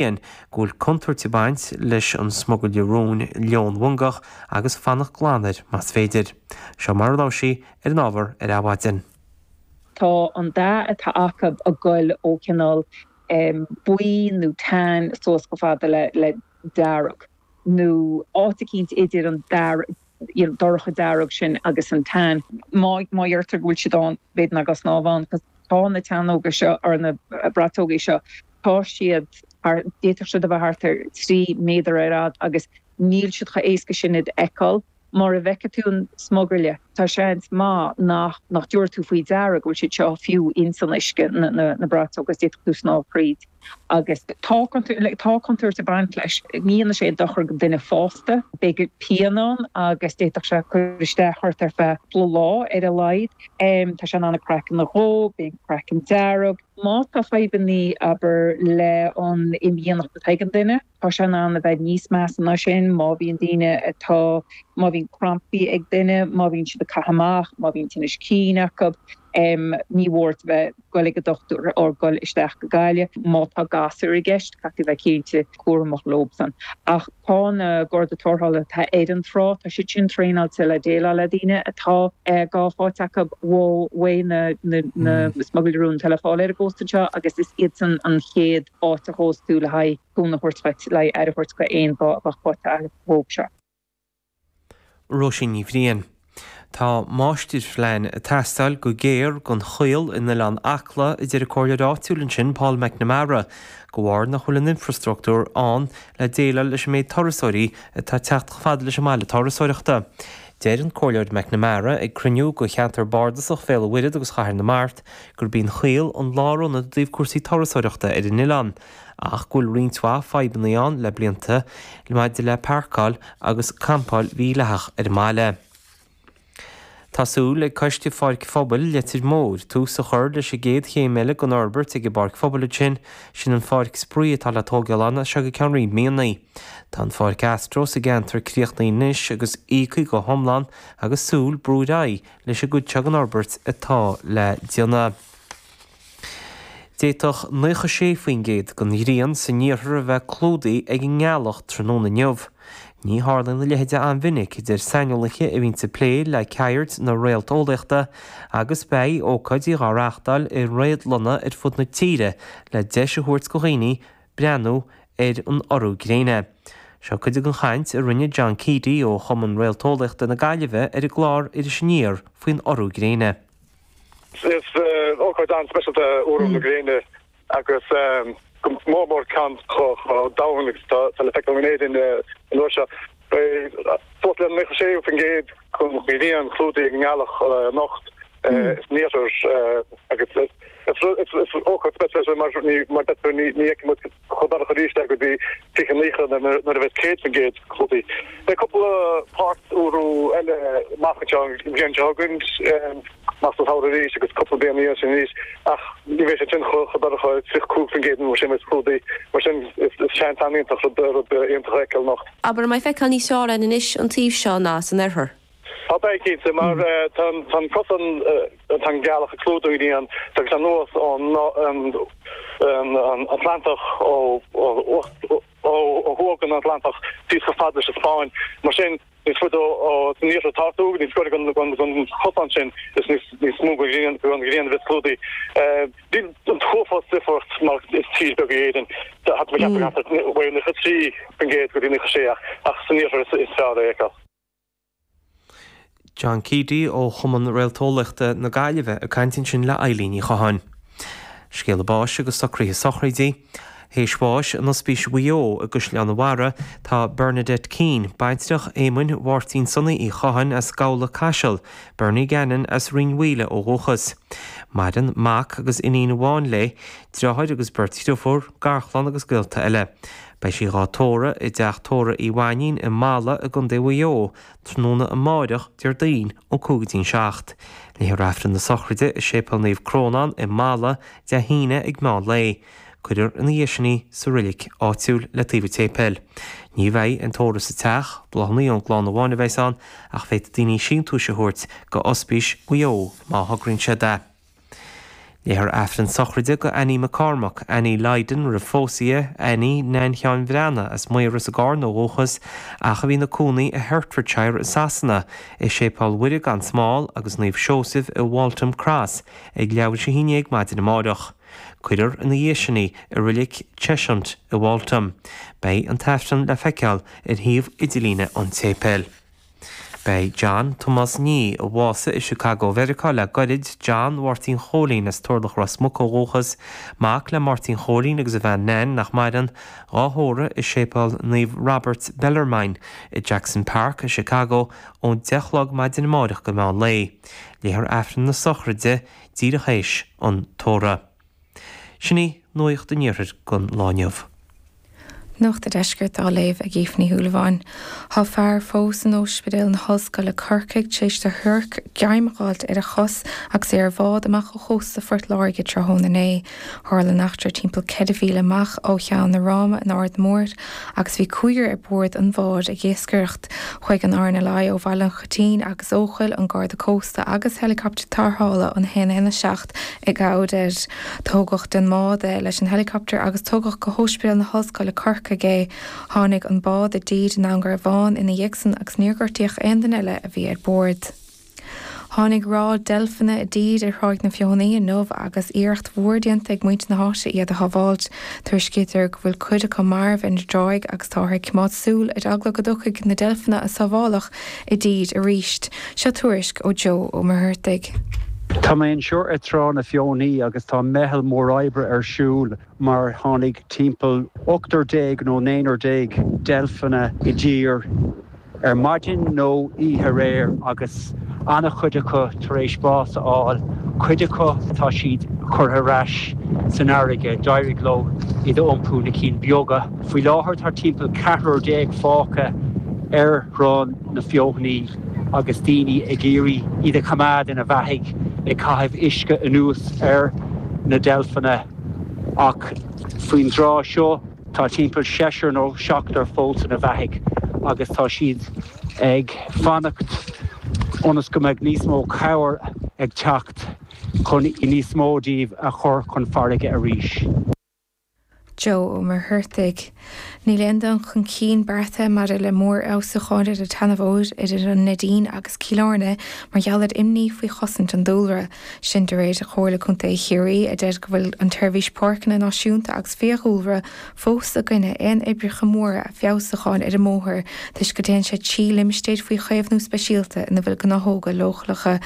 Bhriain go bhfuil contúirt ag baint leis an smugairle róin leonmhangach agus fanacht glan air más féidir. Seo mar a labhair sí ar an ábhar ar Adhmhaidin. Tá an dath atá acu ag goil ó chineál buí nó tan suas chomh fada le dearg nó áit eicínt idir an dath you know dorcha dearg sin agus an tan. Má má dheirtear go bhfuil siad ann, b'fhéidir nach gá snámh ann 'cause tá na teannóga seo, or na braiteogaí seo, tá siad thar, d'fhéadfadh siad a bheith thart ar 3 méadar ar fhad agus níl siad chomh éasca sin iad a fheiceáil. Mura bhfeicfidh tú an smugairle, tá seans maith nach nach dtabharfaidh tú faoi deara go bhfuil siad seo fiú ins an uisce, na na na braiteoga, agus d'fhéadfadh tú snámh thríd. Agus tá tá contúirt ag baint leis. Ní dhéanann sé aon dochar go duine fásta. Beidh pian ann agus d'fhéadfadh sé cur isteach ort ar feadh cúpla lá ar a laghad. Tá sé in ann an craiceann a dhó, bíonn craiceann dearg. Má tá fadhbannaí, abair, le an imdhíonacht atá ag an duine, tá sé in ann a bheith níos measa ná sin má bhíonn daoine atá, má bhíonn crampaí ag duine, má bhíonn siad ag caitheamh amach, má bhíonn tinnis cinn acu. Ní mór a bheith. goil ag an dochtúir or goil isteach go Gaillimh. Má tá gasúir i gceist, caithfidh tú bheith cinnte cúramach leobsan. Ach tá na Garda Tarrthála atá ar an trá, tá siad sin traenáilte le déileáil le daoine atá gá faighte acu uaidh na na smugairle rúin atá le fáil ar an gcósta anseo agus is iadsan an chéad áit a ghabhfas tú le haghaidh cúnamh a thabhairt dhuit, le haghaidh aire a thabhairt go aon ghá a bheadh faighte agat dhóibh seo. Róisín Ní Bhriain. Tá máistirphlean ag teastáil go géar don Choill in Oileán Acla, a deir an comhairleoir áitiúil ansin, Paul McNamara, de bharr nach bhfuil an infreastruchtúr ann le déileáil leis an méid turasóirí atá ag teacht chomh fada leis an mbaile turasóireachta. Deir an Comhairleoir McNamara ag cruinniú de cheantar bardasach Bhéal an Mhuirthead agus Chathair na Mart gurb í an Choill an lárionad i dtaobh cúrsaí turasóireachta ar an oileán. ach go bhfuil roinnt mhaith fadhbanna ann le blianta maidir le páirceáil agus campáil mhídhleathach ar an mbaile. Tá súil ag Coiste Pháirc Phobail Leitir Móir tús a chur leis an gcéad chéim eile den fhorbairt ag an bPáirc Phobail ansin, sin an pháirc spraoi atá le tógáil ann as seo go ceann roinnt míonna. Tá an pháirc Astro sa gceantar críochnaithe anois agus íoctha go hiomlán agus súil brú ar aghaidh leis an gcuid seo den fhorbairt atá le déanamh. D'fhéadfadh 96% den ghrian san iarthar a bheith clúdaithe ag an ngealach tráthnóna inniu. Ní tharlaíonn a leithéid an-mhinic, a deir saineolaithe a bhíonns ag plé le ceird na réalteolaíochta, agus beidh ócáidí dhá reáchtáil i réadlanna ar fud na tíre le deis a thabhairt do dhaoine breathnú ar an urú gréine. Seo cuid den chaint a rinne John Keady ó Chumann Réalteolaíochta na Gaillimhe ar an gclár Iris Aniar faoin urú gréine. Is ócáid an-speisialta é urú na gréine agus go mór mór ceann chomh domhain agus atá le feiceáil in Éirinn an uair seo. Beidh suas le 96% den ghrian clúdaithe ag an ngealach anocht san iarthar agus is ócáid speisialta mar mar deirtear ní fheicfidh muid chomh dorcha arís é go dtí 2090 nuair a bheas 100% clúdaithe. Beidh cúpla páirt-urú eile amach anseo an bhliain seo chugainn, amach sa samhradh arís agus cúpla bliain ina dhiaidh sin arís ach ní bheidh sé sin chomh dorcha, 35% nó mar sin a bheas clúdaithe. Mar sin is seans an-iontach rud iontach a fheiceáil anocht. Abair, an mbeidh feiceáil níos fearr air anois an taobh seo ná san oirthear? Tá, beidh, cinnte, mar tá an cosán, tá an ghealach ag clúdú an ghrian, tagann sé anuas ón Atlantach, ó thuaidh den Atlantach, síos chomh fada leis an Spáinn. Mar sin, níos faide san iarthar atá tú, níos gaire don chosán sin, is níos mó den ghrian a bheas clúdaithe. Níl an t-uafás difríocht mar is tír beag í Éirinn. Tá mé ag ceapadh thart ar 93% go dtí 96 ach san iarthar is fearr é a fheiceáil. John Keady ó Chumann Réalteolaíochta na Gaillimhe ag caint ansin le Eilín Ní Chatháin. Scéala báis agus socruithe sochraide. Théis bháis in Ospís Mhaigh Eo i gCaisleán an Bharraigh tá Bernadette Keane, baintreach Éamoinn Mháirtín Sonaí Uí Chatháin as Gabhla Caiseal, Bernie Gannon as Rinn Mhaoile ó dhúchas. Maireann mac agus iníon amháin léi, driotháir agus beirt dhriofúr, garchlann agus gaolta eile. Beidh sí dhá tórramh i dteach tórraimh Uí Mhainín i Mala i gContae Mhaigh Eo tráthnóna amáireach, Déardaoin, ón 5 go dtí'n 7. Léifear Aifreann na sochraide i Séipéal Naomh Crónán i Mala Dé hAoine ag meán lae. Cuirfear ina dhiaidh sin í sa roilic áitiúil le taobh an tséipéil. Ní bheidh aon tórramh sa teach, bláthanna ón gclann amháin a bheas ann ach féadfaidh daoine síntiúis a thabhairt go Ospís Mhaigh Eo má thograíonn siad é. Léifear Aifreann sochraide go Annie McCormack, Annie Lydon roimh phósadh di, Annie Nan Sheáin Bhreathnaigh as Maoras i gCarna ó dhúchas ach a bhí ina cónaí i Hertfordshire i Sasana, i Séipéal Mhuire gan Smál agus Naomh Seosaimh i Waltham Cross ag leathuair tar éis a haon dhéag maidin amáireach. Cuirfear ina dhiaidh sin í i Reilig Cheshunt i Waltham. Beidh an tAifreann le feiceáil ar shuíomh idirlíne an tséipéil. Beidh John Tomás Nee, a bhásaigh i Chicago Mheiriceá le goirid, John Mháirtín Chóilín as Turlach Ros Muc ó dhúchas, mac le Máirtín Chóilín agus a bhean Nan, nach maireann, dhá thórramh i Séipéal Naomh Robert Bellarmine i Jackson Park i Chicago ón 10 a chlog maidin amáireach go meán lae. Léifear Aifreann na sochraide díreach théis an tórraimh. Sin í Nuacht an Iarthair don lá inniu. Nuacht an Deiscirt á léamh ag Aoife Ní Shúilleabháin. Tá fear fós in Ospidéal na hOllscoile Corcaigh tar éis do shiorc greim a fháilt ar a chos agus é ar bhád amach ó chósta Phort Láirge tráthnóna inné. Tharla an eachtra timpeall 4 mhíle amach ó Cheann na Ráma in Aird Mhóir agus bhí cúigear ar bord an bháid ag iascaireacht. Chuaigh an RNLI ó Bhaile an Choitín agus Eochaill, an Garda Cósta agus heileacaptar tarrthála an 117 i gcabhair air. Tógadh den mbád é leis an heileacaptar agus tugadh go hOspidéal na hOllscoile Corcaigh é. Tháinig an bád i dtír i nDún Garbhán ina dhiaidh san agus níor gortaíodh aon duine eile a bhí ar bord. Tháinig ráth deilfeanna i dtír ar Thráigh na Feothanaí inniu agus iarracht mhór déanta ag muintir na háite iad a shábháilt. Tuairiscítear go bhfuil cuid acu marbh ar an dtráigh agus táthar ag coimeád súil ar eagla go dtiocfaidh na deilfeanna a sábháladh i dtír arís. Seo tuairisc ó Joe Ó Muircheartaigh. Tá mé anseo ar Trá na Feothanaí agus tá meitheal mór oibre ar siúl mar tháinig timpeall ochtar déag nó naonúr déag deilfeanna i dtír ar maidin nó oíche aréir agus an-chuid acu tar éis bás a fháil, cuid acu tá siad curtha ar ais san fharraige, d'éirigh leo iad a iompú, na cinn beaga. Faoi láthair tá timpeall ceathrar déag fágtha ar Thrá na Feothanaí agus daoine ag iarraidh iad a choimeád ina bheathaigh, ag caitheamh uisce anuas ar na deilfeanna ach faoin dtráth seo tá timpeall seisear nó seachtar fós ina bheathaigh agus tá siad ag fanacht ionas go mbeidh níos mó cabhair ag teacht chun níos mó díobh a chur chun farraige arís. Joe Ó Muircheartaigh. Níl aon dul chun cinn beartaithe maidir le mórfheabhsúcháin ar an tseanbhóthar idir an Neidín agus Cill Airne mar gheall ar imní faoi chosaint an dúlra. Sin de réir Chomhairle Contae Chiarraí a deir go bhfuil an tSeirbhís Páirceanna Náisiúnta agus Fiadhúlra fós i gcoinne aon oibreacha móra feabhsúcháin ar an mbóthar toisc go dtéann sé trí limistéir faoi chaomhnú speisialta ina bhfuil gnáthóga leochaileacha.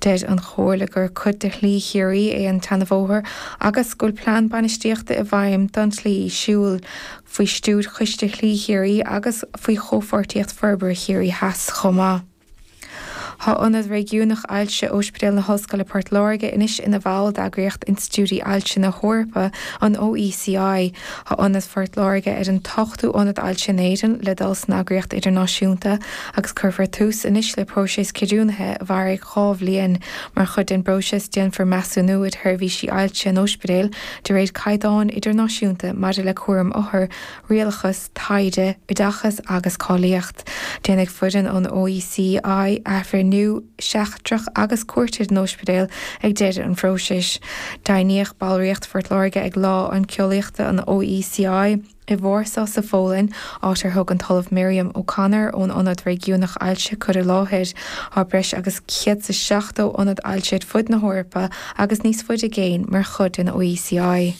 Deir an Chomhairle gur cuid de Shlí Chiarraí é an tseanbhóthar agus go bhfuil plean bainistíochta i bhfeidhm don tslí siúil, faoi stiúir Choiste Shlí Chiarraí agus faoi Chomhpháirtíocht Forbartha Chiarraí Theas chomh maith. Tá Ionad Réigiúnach Ailse Ospidéal na hOllscoile Port Láirge anois ina bhall d'eagraíocht Institiúidí Ailse na hEorpa, an OECI. Tá Ionad Phort Láirge ar an t-ochtú ionad ailse in Éirinn le dul san eagraíocht idirnáisiúnta agus cuirfear tús anois le próiseas ceadúnaithe a mhairfidh 2 bhliain. Mar chuid den bpróiseas déanfar measúnú ar sheirbhísí ailse an ospidéil de réir caighdeáin idirnáisiúnta maidir le cúram othar, rialachas, taighde, oideachas agus cáilíocht. Déanfaidh foireann ón OECI athbhreithniú seachtrach agus cuairt ar an ospidéal ag deireadh an phróisis. Deimhníodh ballraíocht Phort Láirge ag Lá Oinceolaíochta an OECI. I Vársá sa Pholainn, áit ar thug an tOllamh Miriam O'Connor ón Ionad Réigiúnach Ailse cur i láthair, tá breis agus 170 ionad ailse ar fud na hEorpa agus níos faide i gcéin mar chuid den OECI.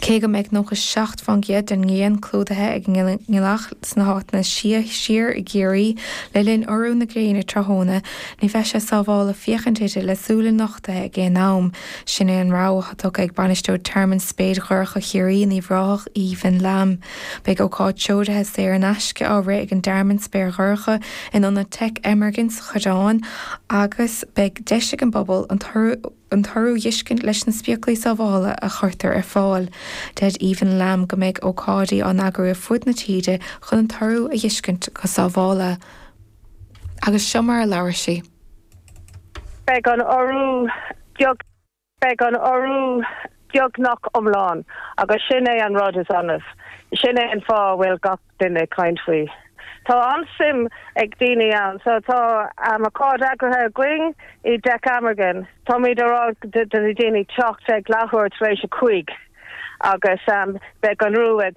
Cé go mbeidh 97% den ngrian clúdaithe ag an ngealach sna háiteanna is sia siar i gCiarraí le linn urú na gréine tráthnóna, ní bheidh sé sábhála féachaint uirthi le súile nochtaithe ag aon am. Sin é an rabhadh atá tugtha ag bainisteoir Tearmann Spéir Dhorcha Chiarraí in Uíbh Ráthach, Aoibhinn Lamb. Beidh ócáid treoraithe saor in aisce á rith ag an dTearmann Spéir Dhorcha in Ionad Teic Emergent sa Choireán agus beidh deis ag an bpobal an t-urú a dh'fheiscint leis na spéaclaí sábhála a chuirtear ar fáil. Deir Aoibhinn Lamb go mbeidh ócáidí á n-eagrú ar fud na tíre chun an t-urú a dh'fheiscint go sábhála. Agus seo mar a labhair sí. Beidh an urú beag Beidh an urú beagnach iomlán agus sin é an rud is annamh. Sin é an fáth a bhfuil gach duine ag caint faoi. Tá an-suim ag daoine ann. So tá ócáid eagraithe againn i dTeach Amergin. Táimid ag rá do na daoine teacht ag leathuair tar éis a 5 agus beidh an urú ag.